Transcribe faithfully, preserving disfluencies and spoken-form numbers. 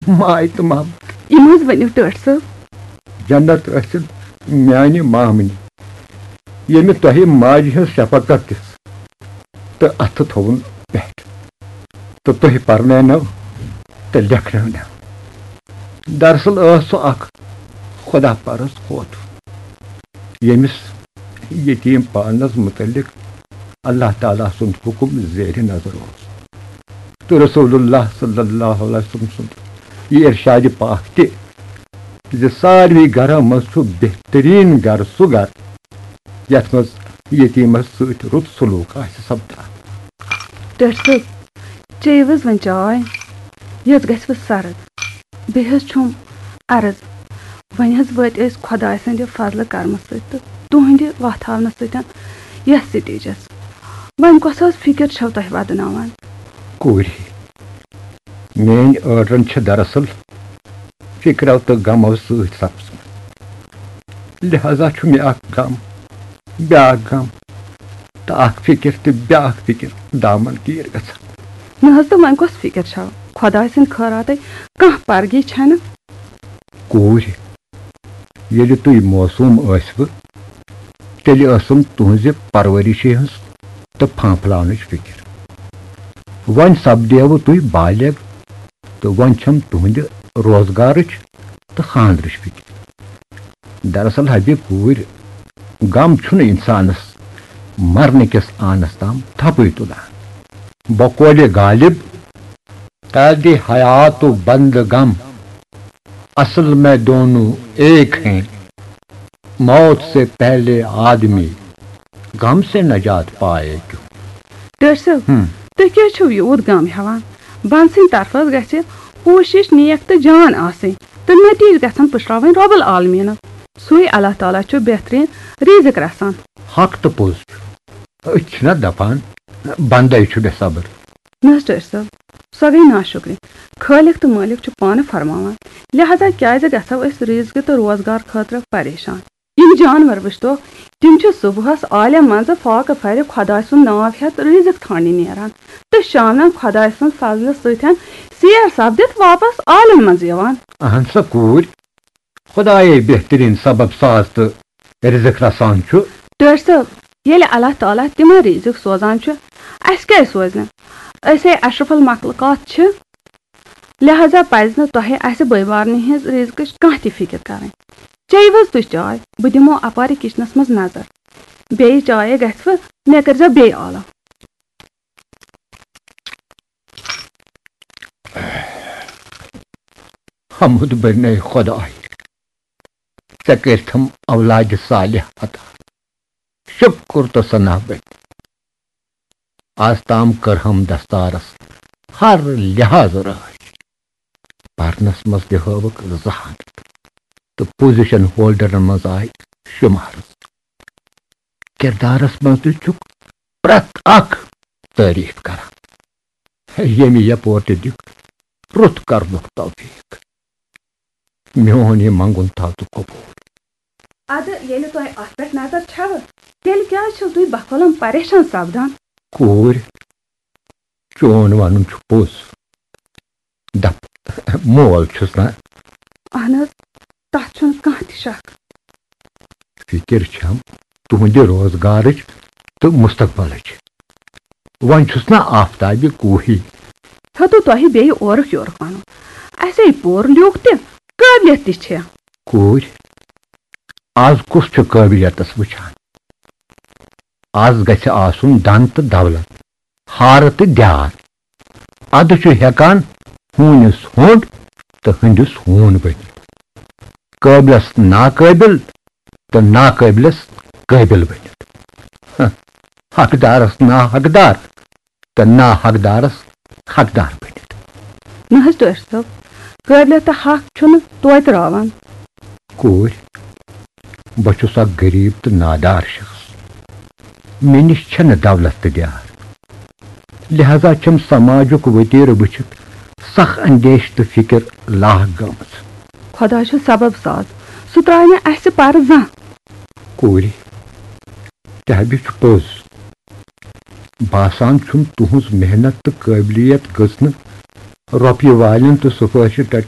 ماے تہٕ محبت۔ یِم حظ ؤنِو ٹٲٹھۍ صٲب۔ جنت ٲسِن میانہِ مامنہِ، ییٚمہِ تۄہہِ ماجہِ ہٕنٛز شفقت دِژ تہٕ اَتھٕ تھووُن پٮ۪ٹھ، تہٕ تُہۍ پرنٲونو تہٕ لیکھنٲونو۔ دراصل ٲس سۄ اکھ خدا پرست خوتون، ییٚمِس یتیٖم پانس متعلق اللہ تعالیٰ سُنٛد حُکم زیرِ نظر اوس، تہٕ رسول اللہ صلی اللہ علیہ وسلم سُنٛد یہِ ارشادِ پاک تہِ زِ ساروی گرو منٛز چھُ بہتریٖن گرٕ سُہ گرٕ یتھ منٛز یتیٖمس سۭتۍ رُت سلوک آسہِ سپدان۔ ٹٲٹھۍ صٲب، چیٚیِو حظ وۄنۍ چاے، یۄس گژھِ وۄنۍ سرد۔ بیٚیہِ حظ چھُم عرض، وۄنۍ حظ وٲتۍ أسۍ خۄداے سٕنٛدِ فضلہٕ کرمہٕ سۭتۍ تہٕ تُہنٛدِ وتھ ہاونہٕ سۭتۍ یتھ سٹیجس۔ وۄنۍ کۄس حظ فکر چھو تۄہہِ ودناوان؟ کوٗرِ، میٲنۍ أڈرن چھِ دراصل فکرو تہٕ غمو سۭتۍ سپزمٕژ۔ لہذا چھُ مےٚ اکھ غم، بیاکھ غم، تہٕ اکھ فکر تہٕ بیاکھ فکر دامن گیر گژھان۔ نہ حظ، تہٕ وۄنۍ کۄس فکر چھو؟ خۄداے سٕنٛدۍ خٲراتَے کانٛہہ پرگی چھنہٕ۔ کوٗرِ، ییٚلہِ تُہۍ معصوٗم ٲسوٕ، تیٚلہِ ٲسٕم تُہٕنٛزِ پرؤرِشہِ ہٕنٛز تہٕ پھانٛپھلاونٕچ فِکر۔ وۄنۍ سپدیوٕ تُہۍ بالغ، تہٕ وۄنۍ چھَم تُہٕنٛدِ روزگارٕچ تہٕ خانٛدرٕچ فِکر۔ دراصل حبیب کوٗرۍ، غم چھُنہٕ اِنسانَس مرنہٕ کِس آنَس تام تھپٕے تُلان۔ بقولِ غالب، قید حیات و بند غم، اصل میں دونوں ایک ہیں، موت سے پہلے آدمی غم سے نجات پائے کیوں؟ ٹٲٹھۍ صٲب، ہم۔ تُہۍ کیٛازِ چھِو یوٗت غم ہٮ۪وان؟ بنٛد سٕنٛدِ طرفہٕ حظ گژھِ کوٗشِش نیک تہٕ جان آسٕنۍ، تہٕ نتیٖجہٕ گژھن پُشراوٕنۍ رۄب العالمیٖنَس۔ سُے اللہ تعالیٰ چھُ بہتریٖن رِزق رسان۔ حق تہٕ پوٚز چھُ۔ أسۍ چھِنہ دپان، بندے چھُ بے صبر۔ نہ حظ ٹٲٹھۍ صٲب، سۄ گٔے ناشُکری۔ خٲلق تہٕ مٲلِک چھُ پانہٕ فرماوان، لہذا کیازِ گژھو أسۍ رِزقہِ تہٕ روزگار خٲطرٕ پریشان؟ یِم جانور وٕچھتو، تِم چھِ صبحس عالم منٛزٕ فاقہٕ پھرِ خۄداے سُنٛد ناو ہٮ۪تھ رِزق ژھانٛڈنہِ نیران تہٕ شامن خۄداے سٕنٛز فضلہٕ سۭتۍ سیر سپدِتھ واپس عالم منٛز یِوان۔ اہن سا کوٗرۍ، خۄدایے بہتریٖن سبب ساز تہٕ رِزق رسان چھُ۔ ٹٲٹھۍ صٲب، ییٚلہِ اللہ تعالیٰ تِمن رِزق سوزان چھُ، اَسہِ کیٛازِ سوزِ نہٕ؟ أسے اشرف المخلوقات چھِ، لہذا پزِ نہٕ تۄہہِ اَسہِ بٲے بارنہِ ہٕنٛز رِزقٕچ کانٛہہ تہِ فِکر کرٕنۍ۔ چیٚیِو حظ تُہۍ چاے، بہٕ دِمو اپارِ کچنس منٛز نظر۔ بیٚیہِ چایے گژھِ وٕ، مےٚ کٔرۍزیو بیٚیہِ آلو۔ حمد بنیے خداے، ژےٚ کٔرتھم اولادِ صالح عطا۔ شکر تہٕ ثنا بنہِ۔ از تام کٔرہم دستارس ہر لحاظ رٲچھ۔ پرنس منٛز تہِ ہٲوٕکھ ذہانت تہٕ پوزیشن ہولڈرن منٛز آے شمارس۔ کردارس منٛز تہِ چھُکھ پرٛٮ۪تھ اکھ تعریف کران۔ ییٚمہِ یپور تہِ دیُت رُت کرنُک توفیق۔ میون یہِ منٛگُن تھاو ژٕ قبوٗل۔ ادٕ ییٚلہِ تۄہہِ اتھ پٮ۪ٹھ نظر چھوٕ، تیٚلہِ کیازِ چھِو تُہۍ بخولم پریشان سپدان؟ کوٗرۍ، چون ونُن چھُ پوٚز۔ دپ، مول چھُس نا۔ اہن حظ، تتھ چھُنہٕ کانٛہہ تہِ شک۔ فکر چھم تُہنٛدِ روزگارٕچ تہٕ مستقبلٕچ۔ وۄنۍ چھُس نا آفتابِ کوہی۔ ہیوٚتُو تۄہہِ بیٚیہِ اورُک یورُک ونُن۔ اسے پوٚر لیوٗکھ تہِ، قٲبلیت تہِ چھےٚ۔ کوٗرۍ، از کُس چھُ قٲبلیتس وٕچھان؟ از گژھِ آسُن دن تہٕ دولت، ہارٕ تہٕ دیار۔ ادٕ چھُ ہٮ۪کان ہوٗنِس ہوٚنٛڈ تہٕ ہٕنٛدِس ہوٗن بٔنِتھ، قٲبلس ناقٲبل تہٕ ناقٲبلس قٲبل بٔنِتھ، حقدارس ناحقدار تہٕ ناحقدارس حقدار بٔنِتھ۔ نہ حظ ٹٲٹھۍ صٲب، قٲبلیت تہٕ حق چھُنہٕ توتہِ راوان۔ کوٗرۍ، بہٕ چھُس اکھ غریٖب تہٕ نادار شخص۔ مےٚ نِش چھَنہٕ دولت تہٕ دیار۔ لہذا چھَم سماجُک ؤتیرٕ وٕچھِتھ سخ اندیش تہٕ فکر لاحق گٔمٕژ۔ خۄدا چھُ سبب ساز، سُہ ترٛاوِ نہٕ اَسہِ پرٕ زانٛہہ۔ کوٗرِ، تہِ ہا چھُ پوٚز۔ باسان چھُم تُہٕنٛز محنت تہٕ قٲبلیت گٔژھ نہٕ رۄپیہِ والٮ۪ن تہٕ سفٲرشہِ ٹٹٮ۪ن